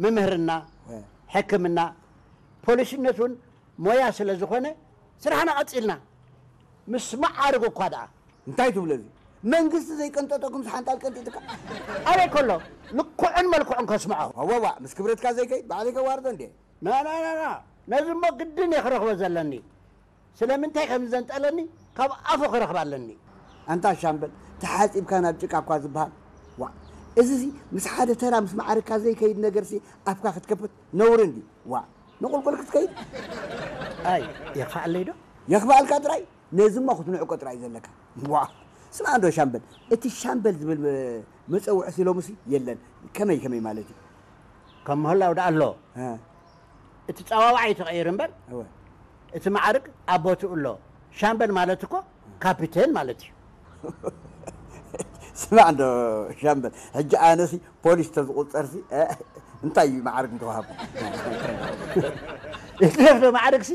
ምምህርና፣ ሕክምና፣ ፖሊስነት እውን ሞያ ስለ ዝኾነ ስራሕና ቀጺልና። ምስ መዓርግ እኳ ደኣ እንታይ ትብሎ እዚ? መንግስቲ ዘይቀንጠጠኩም ሓንጣል ቀንጢጥካ? ኣበይ ከሎ ልክዑን መልክዑን ከስምዖ። ዋዋዋ፣ ምስ ክብረትካ ዘይከይድ ባዕለይ ከዋርዶ እንዴ? ና ና ና ና፣ ነዚ እሞ ግድን እየ ክረኽቦ ዘለኒ። ስለምንታይ ከም ዘንጠለኒ ካብ ኣፉ ክረኽባ ኣለኒ። ኣንታ ሻምበል፣ ተሓጺብካ ናብ ጭቃ እኳ ዝበሃል። ዋ፣ እዚ ሲ ምስ ሓደ ተራ ምስ ማዕርካ ዘይከይድ ነገር ሲ ኣፍካ ክትከፍት ነውሪ እንዲ። ዋ፣ ንቁልቁል ክትከይድ። ኣይ፣ የኽፍኣለይ ዶ? የኽፍኣልካ ጥራይ፣ ነዚ እሞ ክትንዕቆ ጥራይ ዘለካ። ዋ፣ ስማ እንዶ ሻምበል፣ እቲ ሻምበል ዝብል መ-፣ መጸውዒ ሲ ሎምሲ የለን። ከመይ ከመይ ማለት እዩ? ከም ምህላው ደኣ ኣሎ። እ። እቲ ጸዋዋዕ እዩ ተቐይሩ እምበር፣ እወ። እቲ ማዕርግ ኣብ ቦትኡ ኣሎ። ሻምበል ማለት እኮ ካፒቴን ማለት እዩ። ስማዕ እንዶ ሻምበል፣ ሕጂ ኣነሲ ፖሊስ ተዝቑጸርሲ፣ እ፣ እንታይ እዩ ማዕርግ እንተወሃቡ? ይትረፍ ዶ ማዕርግሲ?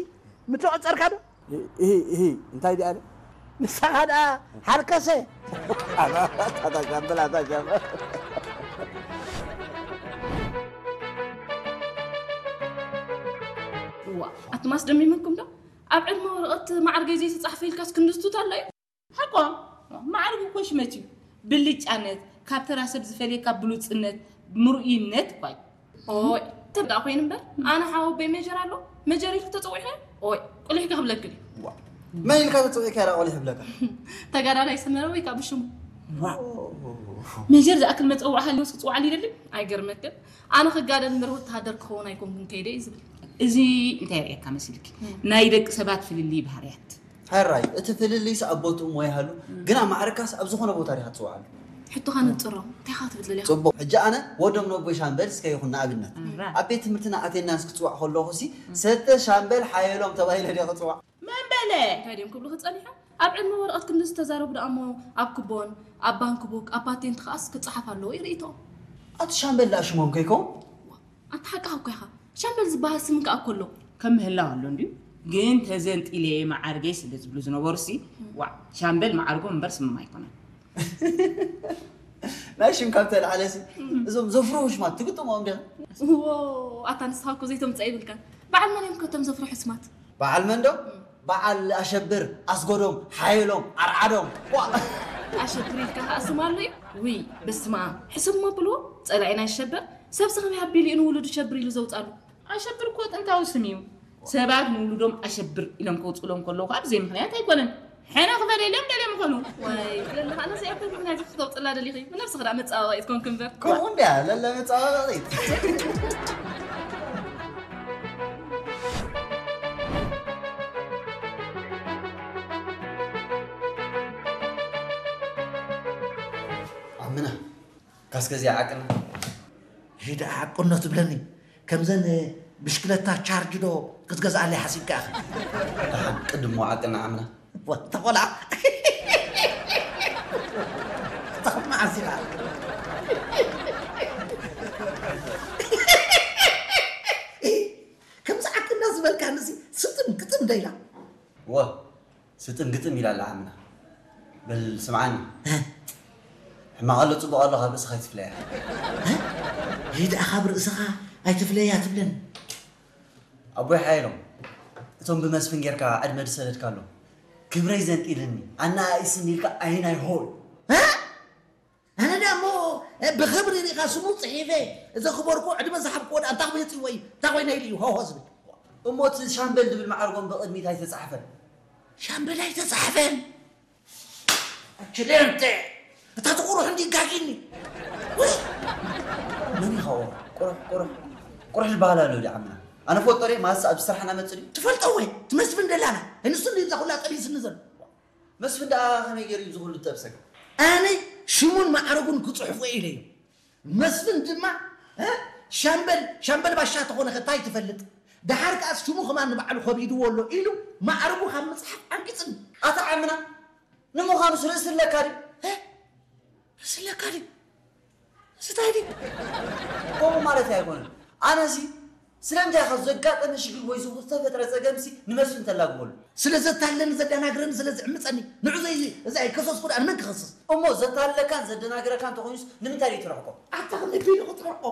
ምተቖጸርካ ዶ? እሂ፣ እሂ፣ እንታይ ደኣ ኣለ? ንስኻ ደኣ ሓርከሰ። ኣታ ሻምበል፣ ኣታ ሻምበል። እዋ፣ ኣቱም ኣስደሚምኩም ዶ? ኣብ ዕድመ ወረቐት ማዕርገይ ዘይተጻሕፈ ኢልካስ ክንድስቱት ኣሎ እዩ? ሓቋ፣ ማዕርግ እኮ ሽመት እዩ። ብልጫነት፣ ካብ ተራ ሰብ ዝፈልየካ ብሉጽነት፣ ምርኡይነት እኳ እዩ። ኦይ፣ ተብዳ ኮይኑ እምበር፣ ኣነ ሓወቦይ ሜጀር ኣሎ፣ ሜጀር ኢልክ ተጸዊዕካ? ኦይ፣ ቁሊሕካ ክብለክ ድዩ? ዋ፣ መን ኢልካ ተጸዊዕካ ኢላ ቆሊሕ ይብለካ? ተጋዳላይ ሰመረ ወይ ካብ ሽሙ። ዋ፣ ሜጀር ዝኣክል መጸውዒ ሃልዮስ ክጽውዓሉ ይደሊ? ኣይገርመክን። ኣነ ክጋደል እምበር ወተሃደር ክኸውን ኣይኮንኩን ከይደ እዩ ዝብል። እዚ እንታይ የርእየካ መሲልኪ? ናይ ደቂ ሰባት ፍልልይ ባህርያት። ሕራይ፣ እቲ ፍልልይስ ኣብ ቦትኡ እሞ ይሃሉ፣ ግና ማዕርካስ ኣብ ዝኾነ ቦታ ዲኻ ትጽውዓሉ? ሕቶኻ ነጽሮ፣ እንታይ ኢኻ ክትብል ደሊኻ? ጽቡቕ፣ ሕጂ ኣነ ወዶም ነቦይ ሻምበል እስከ ይኹን ንኣብነት። እራ። ኣብ ቤት ትምህርትና ኣቴንዳንስ ክጽዋዕ ከለኹሲ፣ ሰተ ሻምበል ሓየሎም ተባሂለ ድየ ክጽዋዕ? መን በለ? እንታይ ድዮም ክብሉኺ ጸኒሖም? ኣብ ዕድመ ወረቐት ክንዲ ዝተዛረቡ ደኣ እሞ ኣብ ክቦን ኣብ ባንክ ቡክ ኣብ ፓቴንት ከኣስ ክጸሓፍ ኣለዎ እዩ ርእይቶኦም። ኣቲ ሻምበል ደኣ ሽሞም ከይከውን? ኣቲ ሓቅኻ እኮ ኢኻ። ሻምበል ዝበሃል ስም ከኣ እኮ ኣሎ። ከም ምህላው ኣሎ እንድዩ። ግን ተዘንጢለ እየ መዓርገይ ስለ ዝብሉ ዝነበሩሲ፣ ዋዕ፣ ሻምበል መዓርጎም እምበር ስሞም ኣይኮነን። ናይ ሽም ካብ ተልዓለሲ፣ እዞም ዘፍርሁ ሽማት ትግጥሞም ዲኻ? እዎ፣ ኣታ ንስኻ እኮ ዘይተምጽኣ ይብልካን። በዓል መን እዮም ከ እቶም ዘፍርሑ ስማት? በዓል መን ዶ? በዓል ኣሸብር፣ ኣስጎዶም፣ ሓየሎም፣ ዓርዓዶም። ዋ! ኣሸብር ኢልካ ከኣ ስም ኣሎ እዩ? ውይ፣ በስመ ኣብ። ሕሰብሞ ብልዎ፣ ጸላኢ ናይ ሸበር፣ ሰብሲ ከመይ ኣቢሉ እዩ ንውሉዱ ሸብር ኢሉ ዘውጻሉ? ኣሸብር እኮ ጥንታዊ ስም እዩ። ሰባት ንውሉዶም ኣሸብር ኢሎም ከውጽእሎም ከለዉ ከኣ ብዘይ ምኽንያት ኣይኮነን። ሕነ ክፈለየሎም ደልዮም ይኾኑ። ዋይ፣ ለለ፣ ኣነ እዚኣ እንታይ ምኽንያት ኢኺ ክተውጽላ ደሊኺ? ንነብስኺ ደኣ መጸባበቒ ትኮንኪ እምበር። ከምኡ እንድያ፣ ለለ መጸባበቒ። ዓምና፣ ካስከ እዚኣ ዓቅና። ሂዳ ዓቅኖ ትብለኒ። ከምዘን ብሽክለታ ቻርጅ ዶ ክትገዝኣለይ ሓሲብካ ኢኻ? ደሓን፣ ቅድሞ ዓቅና ዓምና። ወታ ቆልዓ። ተኸማዓስ ኢኻ። ከምዚ ዓቅና ዝበልካንሲ ስጥም ግጥም ዶ ኢላ? ወ፣ ስጥም ግጥም ኢላ ኣላ ዓምና። በል ስምዓኒ። እ? ሕማቕ ኣሎ ጽቡቕ ኣሎ ካብ ርእስኻ ኣይትፍለያ። እ? ይህ ደኣ ካብ ርእስኻ ኣይትፍለያ ትብለኒ። ኣቦይ ሓየሎም፣ እቶም ብመስፍን ጌርካ ዕድመ ዝሰደድካሎም፣ ክብረይ ዘንጢልኒ፣ ኣነኣኢስኒ ኢልካ ኣይናይ ሆይ። እ? ኣነ ደኣ እሞ፣ እ፣ ብኽብሪ ርኢኻ ስሙ ጽሒፈ፣ ዘኽበርኩ ዕድመ ዝሃብክዎ ደኣ እንታይ ኮይኑ ይጽይዎ እዩ? እንታይ ኮይነ ኢሉ እዩ ሆሆ ዝብል? እሞ እቲ ሻምበል ዝብል ማዕርጎም ብቕድሚት ኣይተጻሕፈን? ሻምበል ኣይተጻሕፈን? ኣችሌንቴ፣ እታ ትቑሩሕ እንዲ ጋጊኒ። ውይ! መን ኢኻ ቁሩሕ? ቁሩሕ፣ ቁሩሕ፣ ቁሩሕ ዝበሃል ኣሎ ድዩ ዓምና? ኣነ ፈልጦ ድየ? ማለትስ ኣብ ስራሕና መጽእ ድዩ? ትፈልጦ ወይ? እቲ መስፍን ደላላ። ንሱ እንዲ እዛ ኩላ ጠቢስኒ ዘሎ። መስፍን ደኣ ከመይ ገይሩ እዩ እዚ ኩሉ ዝጠብሰካ? ኣነ ሽሙን ማዕረጉን ክጽሕፎ ኢለ እዩ። መስፍን ድማ፣ እ፣ ሻምበል፣ ሻምበል ባሻ ተኾነ ከ እንታይ ትፈልጥ? ደሓር ከኣስ ሽሙ ከማን ንባዕሉ ከቢድዎ ኣሎ ኢሉ ማዕረጉ ካብ ምጽሓፍ ዓንቂጽኒ። ኣታ ዓምና፣ ንምዃኑስ ርእሲ ኣለካ ድዩ? እ? ርእሲ ኣለካ ድዩ? እዚ እንታይ ድዩ? ከምኡ ማለት ኣይኮነን። ኣነሲ ስለምንታይ ኢኻ ዘጋጠመ ሽግር ወይ ዝኹ-፣ ዝተፈጥረ ጸገምሲ ንመስፍን ተላግበሉ? ስለ ዘታለኒ ዘደናግረኒ ስለ ዝዕምጸኒ ንዑ ዘይ-፣ እዚ ኣይከሰስኩ ደኣ ንመን ክኸስስ? እሞ ዘታልለካን ዘደናግረካን እንተኾይኑስ ንምንታይ ደይትርሕቆ? ኣታ ክንደይ ቢሉ ክትርሕቆ?